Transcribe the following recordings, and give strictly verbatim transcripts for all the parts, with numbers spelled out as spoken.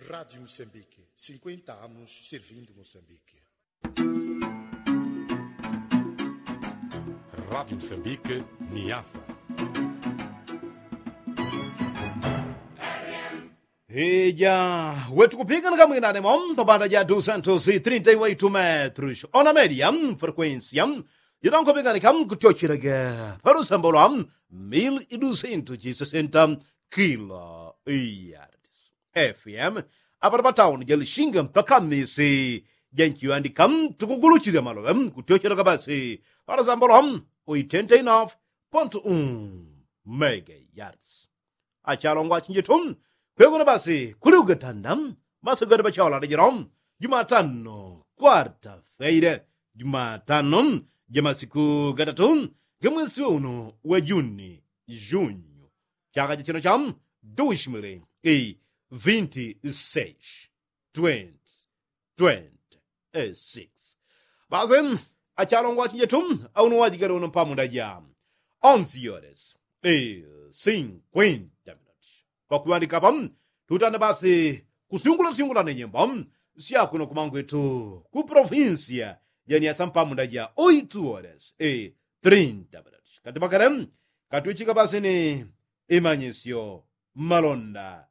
Rádio Moçambique, cinquenta anos servindo Moçambique. Rádio Moçambique, Niassa. Ija, wetu kupikana kamwinane mo pabanda ja dusantos trinta i waitu metrus ona media, frekuensia jidonko pikani kam kutyochelaga palusambo lwa mil i dusantos jisesenta kilo yards. Fm apano patauni ja lishinga mpaka misi ja nchiwandika tukuguluchilila maloŵe kutyochelaga basi palusambo lwa oitenta i nofu pontu un mega yards. Achalongwa achinjetu, kwegona basi kuli ugatanda, basi gadi pachaola lejelo, jumatano kwarta feile, jumatano ja masiku gatatu ga mwesi wa uno wa juni, junyu, chaka cha chino cha dushimili i vinti seis, twenty twenty six. Basi achalongwa achinjetu, auno wajigale uno pamunda ja onzi yores i sinkwenta minuti pakuŵandika apa, tutanda basi kusyungula syungula ne nyimbo sya kuno kumangwetu ku provinsia ja niasa mpamunda ja oitu yores i trinta minuti kati pakale katwichika basi ni imanyisyo malonda.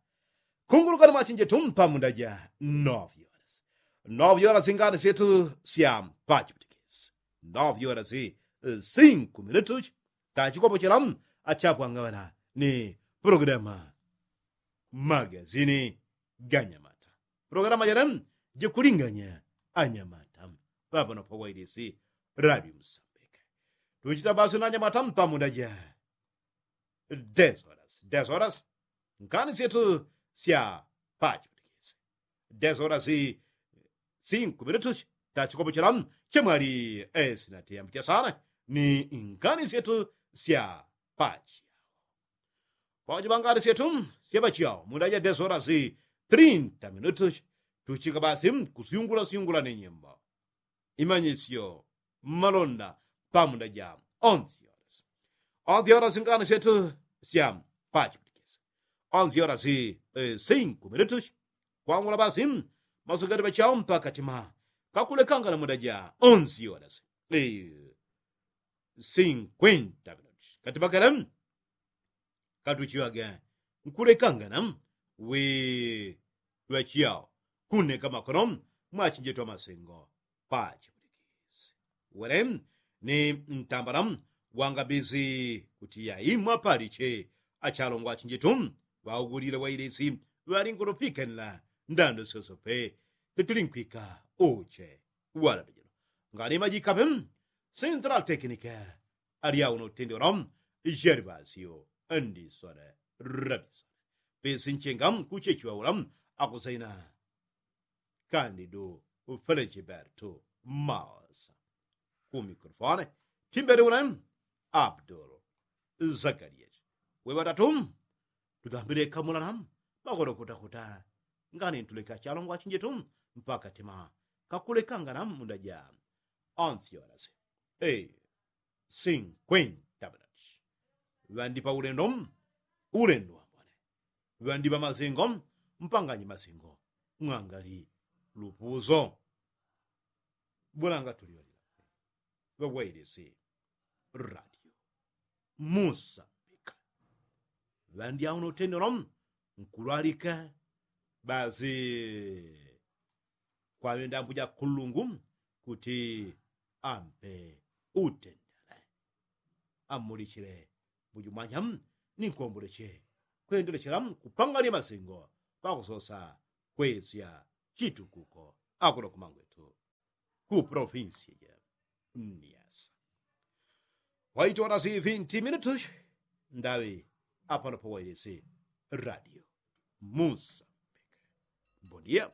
Kungulukani mwachinjetu mpamunda ja novyora si novyora singani syetu sya pachipitikisi novyora si sinku minutu tachikopochela achapwang'ana ni programa magazini ganyamata. Programa jene jikulinganya anyamata ŵapano pawailisi radio musambika. Tuchita basi na anyamata mpamunda ja desoras desoras ngani syetu sya pachipitikisi desoras sinku minutu tachikopochela chemwali esinatiyambu chasana ni ngani syetu sya pachiao. Pawajibangani syetu sya pachiao munda ja desoras trinta minutu tuchika basi kusyungula syungula ni nyimbo imanyisyo malonda pamunda ja onzi yora si onzi yora singani syetu sya pachipitikisi onzi yora si sinku minutu kwangula basi masukati pachao mpaka tima kakulekangana munda ja onzi yora si sinkwenta minutu kati pakale katuchiŵage nkulekangana wi ŵachiyao kuneka makono mwachinjetu amasengo pachipulikisi wele ni ntambala wangabisi kuti yaimwa paliche achalongwa achinjetu ŵaugulile wailisi ŵalingulopikanila ndando syosope titulinkwika uche wala dujilo ngani majikape central tekinike alyauno utendelo jerivasio ndisole rabisole pesi nchenga kuchechiwaula akusaina kandidu felechibertu maosa ku mikrofone timbeli une abdul zakarias weŵatatu tugambileka mulala makono kutakuta ngani ntuleka chalongwa chinjetu mpaka tima kakulekangana munda ja onsi yorasi sinkwenta minati ŵandipa ulendo ulendo wambone ŵandipa masingo mpanganyi masingo mwangali lupuso bulanga tuliolila ŵawailisi radio musambika ŵandyauno utendelo nkulwalika basi kwaŵenda mbuja kulungu kuti ampe utendele amulichile mbuju mwanya ni nkomboleche kwendelechela kupangania masingo pakusosa kwesya chitukuko akuno kumangwetu ku provinsi ja niasa waitola si vinti minutu ndaŵi apano pawailisi radio musambika bondia